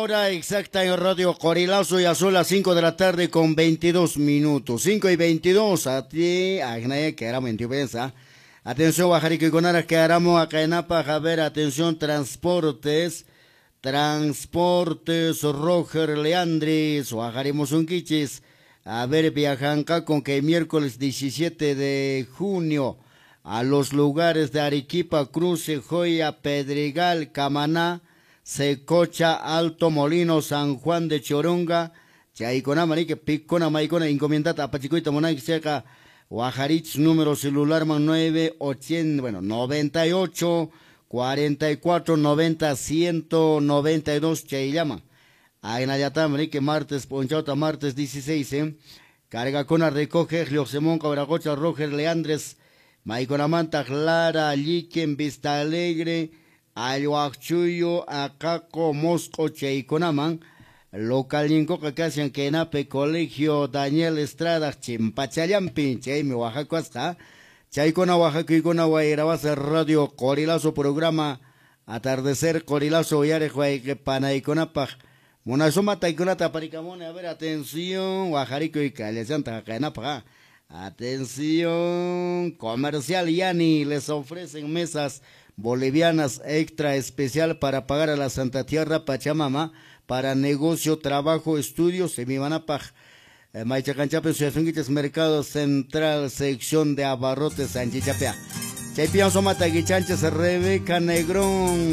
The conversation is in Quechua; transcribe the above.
Hora exacta en Radio Qorilazo, ya son las 5 de la tarde con 22 minutos. 5:22, a ti, Agnaya, que era piensa. Atención, Guajarico que haramos acá en a ver, atención, transportes. Transportes Roger Leandris, Guajarimusunquichis. A ver, viajan con que miércoles 17 de junio a los lugares de Arequipa, Cruce, Joya, Pedregal, Camaná, Secocha, Alto Molino, San Juan de Choronga, Chaicona, Marique, Picona, Maicona, encomiendata, Apachicoita, Monanqui, Seca, Guajarich, número celular, man 9, 80, bueno, 98, 44, 90, 192, Chayllama. Agnayatá, Marique, martes, Ponchauta, martes 16, ¿eh? Carga con recoge, Lioxemón, Cabracocha, Roger, Leandres, Maiconamanta, Clara, Liquen, Vista Alegre, Ayuachuyo, Acaco, Mosco, Chayconaman, Local Casian, Kenape, Colegio, Daniel Estrada, Chimpachallampi, Chaymi, Oaxaca, Chaykuna, Oaxaca, Guairabasa, Radio Qorilazo, programa Atardecer, Qorilazo, Yare, Panaiconapaj, Munasuma, Taikunata, Paricamone, a ver, atención, Oaxarico y Callachanta, Jacaenapaj, atención, Comercial Yani, les ofrecen mesas bolivianas extra especial para pagar a la Santa Tierra Pachamama, para negocio, trabajo, estudios, Semibanapaj, Maichacanchape, Suyazunguiches, Mercado Central, sección de Abarrotes, Sanchichapea. Chaypian Somata Guichanches, Rebeca Negrón.